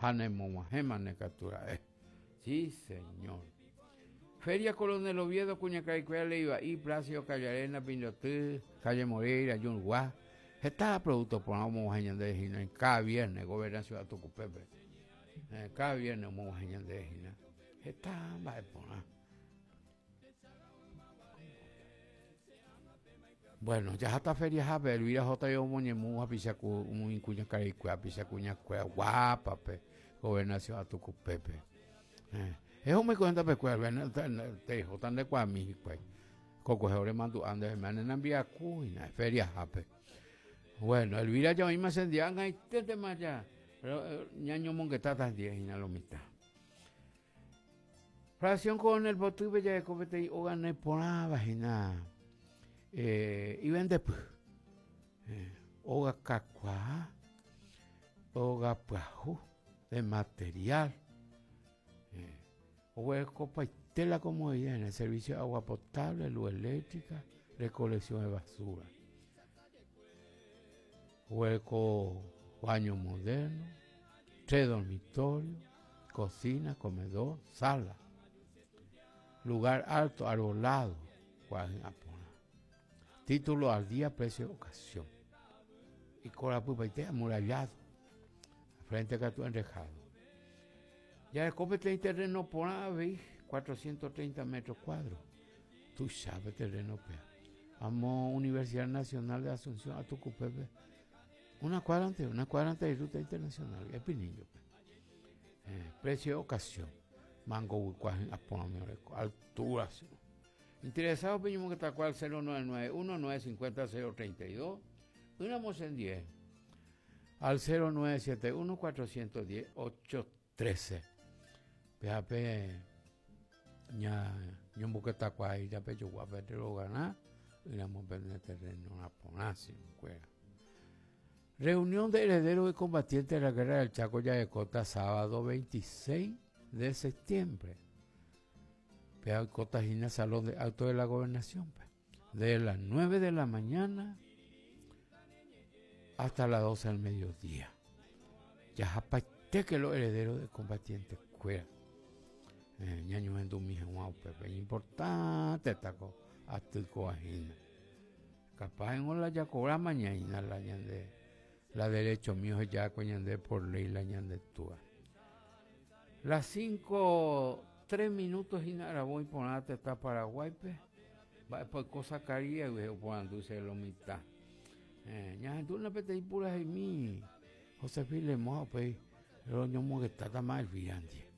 Ha nemog̃uahẽmane katu ra'e. Sí, señor. Feria Coronel Oviedo, kuñakaraikuéra Leiva'i, Plácido Callarena, Pindoty, Calle Moreira, Jungua. Heta producto porã omog̃uahẽ ñandéve hína cada viernes Gobernación Atukupépe. Eh, cada viernes omog̃uahẽ ñandéve hína. Heta mba'e porã. Bueno, jaháta feriahápe, Elvira J. omoñemu hapicha ku umi kuñakaraikuéra, hapicha kuñakuéra guápape, Gobernación Atukupépe. Eh, eho umi kuéntape kuéra, tejota ndekuaami hikuái. Kokuehe oremandu'a ndéve, ne nambiaku hína feriahápe. Bueno, Elvira ja oĩma chendive, ag̃aiténtema ja ñañomongetáta hendive hína lo mitã. Fracción Coronel Potýpe jareko peteĩ óga neporãva hína eh, ivendepy. Eh, óga kakuaa, óga pyahu de material. Eh, oguerekopaite la comodidad en el servicio de agua potable, luz eléctrica, recolección de basura. Oguereko baño moderno, tres dormitorios, cocina, comedor, sala. Lugar alto, arbolado, kuarahy'ã porã. Título al día, precio de ocasión. Ikorapypaite amurallado. Frente katu enrejado. Jareko peteĩ terreno porã avei, 430 metros cuadros. Tuicha pe terreno péa. Amo Universidad Nacional de Asunción Atukupépe, una cuadra antes, una cuadra antes de ruta internacional, Espinillo-pe. Eh, precio de ocasión. Mango guykuaa hi'ã porãmi oreko, altura si. Interesado peñomongetakuaa al 0991 950 032, ỹramo chendie al 0971 410 813. Péape ña ñomboketakuaa japejogua pende rogarã ỹramo pende terreno porã si kuéra. Reunión de herederos y combatientes de la Guerra del Chaco jarekóta sábado 26 de septiembre. Péa oikóta hína Salón de Actos de la Gobernación. De las 9 de la mañana hasta las 12 del mediodía. Jahapaitéke los herederos de combatientes kuéra. Eh, ñañohendumi hag̃ua upépe. Importante tako aty kóva hína. Capaz ningo la jakobráma ñaína la ñande la derecho mío ohejákue ñande por ley la ñande túa. Las 5 3 minutos hína aravo iporã tetã Paraguáipe. Mba'épa oiko Zacaríasgui oporandu che lo mitã. Eh, ñahendúna peteĩ puraheimi José Filemón ha upéi roñomongetáta Elvira ndive.